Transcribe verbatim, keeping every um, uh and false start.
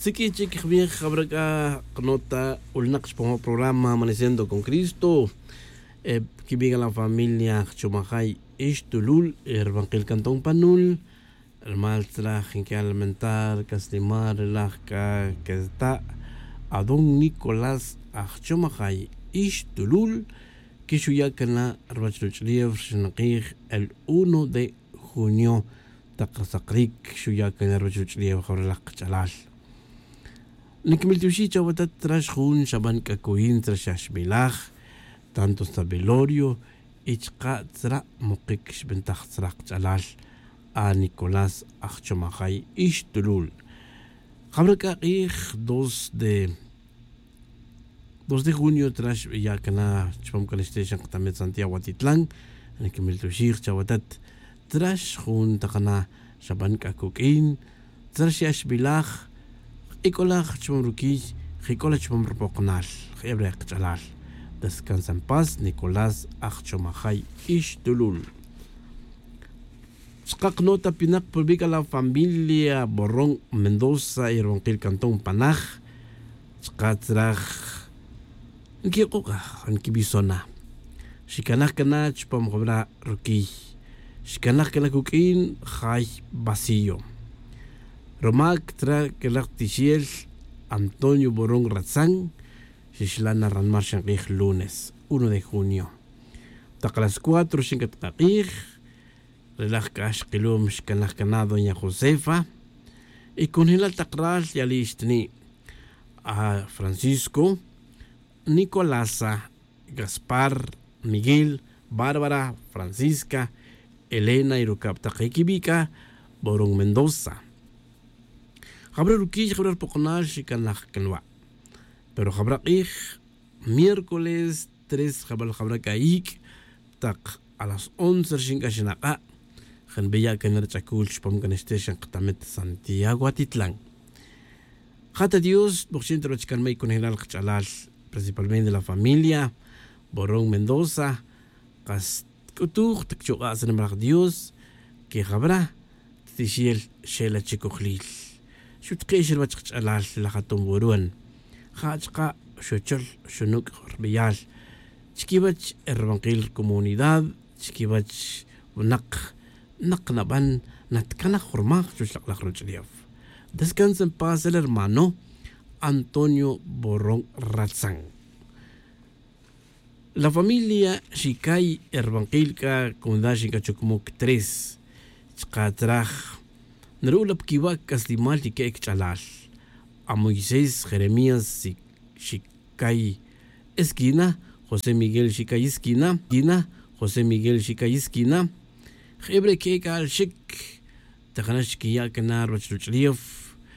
Siq'ui chic jbij jabra c'a knota ulinak chupam programa amaneciendo con cristo. Quibi' c'a la familia jchomajay ixtulul ri rubankil cantón panul. Rumal tzraj nqui'an lamentar c'a snimal ri laj c'a queta' adón nicolás ajchomajay ixtulul. Quixuya' cana ruwach ruch'ulef rixinakij el uno de junio tak ri sakric xuya' cana ruwach ruch'ulef jawrelaj kach'alal. Niquimiltioxij chawatat tzra xjun xaban c'a cuyin tzra xaxbilaj tanto sabelorio y chka' tzra' mukic xbintaj tzra' kach'alal a nicolás ajchomajay ixtulul. Jabra c'a k'ij dos de dos de junio tzra xbiya' cana chupam c'a nixte' xan katamet santiago atitlan. Niquimiltioxij chawatat tzra xjun tak na xaban c'a cuq'uin tzra xya' xbilaj jk'ic'olaj chupam ruquiy jk'ic'olaj chupam rupokonal. Jeb re' kach'alal descansa en paz nicolás ajchomajay ixtulul. Chka' knota pinak purbic a la familia borón mendoza y rubankil cantón panaj. Chka' tzraj nquik'uk'aj nquibisona. Xicanaj cana chupam jabra' ruquiy xicanaj cana cuq'uin jay vacío. Rumac tzra' cana tixel antonio borón ratzan. Xixla' na ranmal xink'ij lunes uno de junio tak las cuatro xink'at k'ak'ij. Re laj k'a xkilom xkanaj cana doña josefa y conjelal tak ral yali' xtini' a francisco, nicolasa, gaspar, miguel, bárbara, francisca, elena y rucab tak iquibi' c'a borón mendoza. Jabra' ruquiy jabra' rupokonal xicanaj canwa'. Pero jabra' k'ij miércoles tres jabal jabra' c'a ic' tak a las once rixin c'a xinak'a' janbiya' can ri ch'acul chupam can xte' xan katamet santiago atitlan. Ja ta dios bokxin ta ruwach canma' y conejelal kach'alal principalmente la familia borón mendoza. Kas tk'utuj tak chuk'a' sa nimalaj dios que jabra' titixel xela chicojlil. Xutke'x ruwach kach'alal laj aton buruan ja' chka' xuchol xunuc' rbeyal chiquiwech e rubankil comunidad chiquiwech winak nak naban natcanaj jurmaj chuwech lak' laj ruch'ulef. Descansa en paz el hermano antonio borón ratzan. La familia xicay e rubankil c'a comunidad xinc'a chucmuc tres chka' tzraj naru'ul la pa quiwa' c'aslimal y que'e cach'alal a moisés jeremías xicay esquina josé miguel xicay esquina josé miguel xicay esquina. Jeb re' que'e c'a alxic tak jana' xquiya' cana ruwach ruch'ulef